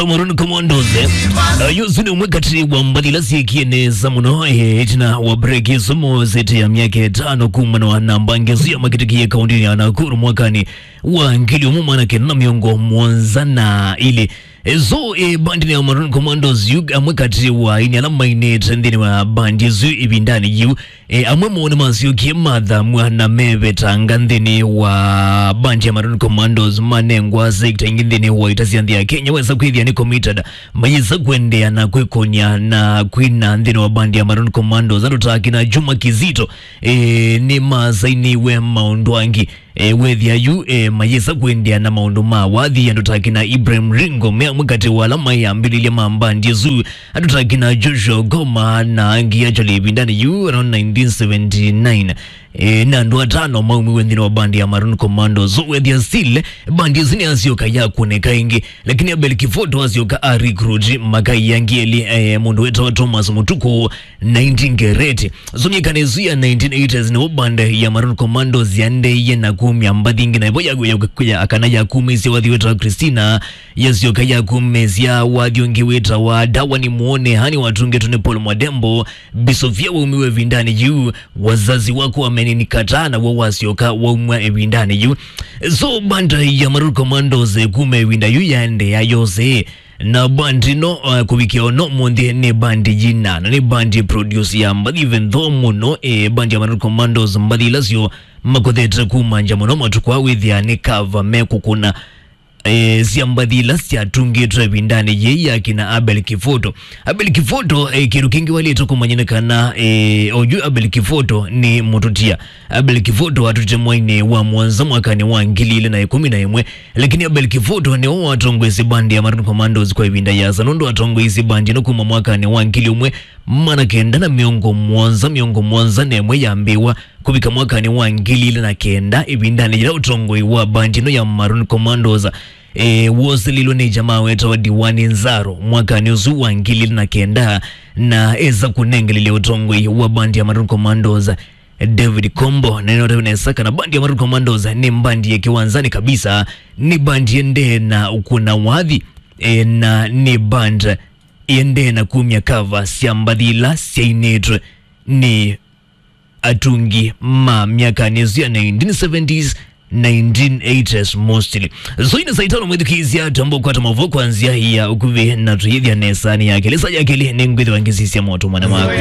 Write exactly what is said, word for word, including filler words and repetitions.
Maroon Commandos, eh. Uh, yu ũsu nĩ ũmwe katĩ wa mbathi ila syĩkie nesa mũno, eh, ĩtina wa break ĩsu mosete ya myaka ĩtano kumana na mbangi ĩsu ya makĩtĩkie kaũntĩnĩ ya Nakuru mwakanĩ wa ngili ũmwe magana kenda na mĩongo mũonza na ilĩ. Eh, so, eh, bandi ya Maroon Commandos yu amwe katĩ wa aini ala mainĩte nthĩnĩ wa bandi ĩsu ĩvindanĩ yu. E, amwe moo nĩmasyokie mathamw'a na mevetanga nthĩnĩ wa bandi ya Maroon Commandos, manengwa sekta ingĩ nthĩnĩ wa ita sya nthĩ ya Kenya. Wesa kwĩthĩa nĩ committed, mayĩsa kũendeea na kwĩkũnĩa na kwina nthĩnĩ wa bandi ya Maroon Commandos. Andũ ta akina Juma Kizito, e, nĩmasainiwe maũndũ angĩ. E, wethĩa yu, e, mayĩsa kũendeea na maũndũ ma wathi. Andũ ta akina Ibrahim Ringo me amwe katĩ wa ala maĩ ambĩlĩlya ma mbandi ĩsu. Andũ ta akina Joshua Goma na angĩ actually ĩvindanĩ yu around nineteen seventy-nine. E, na andũ atano maumiwe nthĩnĩ wa bandi ya Maroon Commandos. So wethĩa still, bandi ĩsu nĩyasyoka yakũnĩka ĩngĩ. Lakini Abel Kifoto asyoka a recruit makai angĩ elĩ, e, mũndũ wĩtawa Thomas Mutuku, nineteen Ngereti. So myakani ĩsu ya nineteen eighties nĩvo band ya Maroon Commandos yaendeeie na kumya mbathi ingĩ, na ĩvo ya, ya, ya, kana yakumĩsye wathi wĩtawa Christina, yasyoka yakumĩsya wathi ũngĩ wĩtawa Dawa Nimuone, hani watungĩtwe nĩ Paul Mwadembo, Bi Sofia waumiwe ĩvindanĩ yu, Wazazi Wako Wamenikataa naw'o wasyoka waumwa ĩvindanĩ yu. So band ya Maroon Commandos, eh, kuma ĩvinda yu yaendeea yose. Na bandi ĩno, eh, kũvikĩa ono mũnthĩ nĩ bandi yina, na nĩ bandi produce ya mbathi, even though mũno, eh, bandi ya Maroon Commandos mbathi ila syo makothete kumanja mũno matukũ aa wĩthĩa nĩ cover mekũkũna, eh, sya mbathi ila syatungĩtwe ĩvindanĩ yĩĩ ya kina Abel Kifoto. Abel Kifoto, eh, kĩndũ kĩngĩ walĩte kũmanyĩka kana, eh, oyu Abel Kifoto nĩ mũtũtia. Abel Kifoto atũtĩte mwainĩ wa mũonza mwakanĩ wa ngili ilĩ na ĩkũmi na ĩmwe. Lakini Abel Kifoto nĩwe watongoesye bandi ya Maroon Commandos kwa ĩvinda yĩasa, nũndũ atongoesye bandi ĩno kuma mwakanĩ wa ngili ũmwe magana kenda na mĩongo mũonza, mĩongo mũonza na ĩmwe yambĩĩwa, kũvika mwakanĩ wa ngili ilĩ na kenda, ĩvindanĩ yĩla ũtongoi wa bandi ĩno ya Maroon Commandos, e, wosililwe nĩ jamaa wetawa Diwani Nzaro mwakanĩ ũsu wa ngili ilĩ na kenda, na esa kũnengelelya ũtongoi wa bandi ya Maroon Commandos David Kombo. Na nĩnotewe nesa kana bandi ya Maroon Commandos nĩ bandi ya kĩwanzanĩ kabisa, nĩ bandi yendee na ũkũna wathi, e, na nĩ band yendee na kumya cover sya mbathi ila syainĩtwe nĩ atungi ma myakanĩ ĩsu ya nineteen seventies, nineteen eighties mostly. So ĩna saa itano mwĩthukĩĩsya, twamba kũkwata maũvoo kwa nzĩa ya ũkuvĩ na tũyĩthya nesa nĩ ya kelĩ. Saa ya kelĩ nĩngwĩthĩwa ngĩsisya motũmane maku.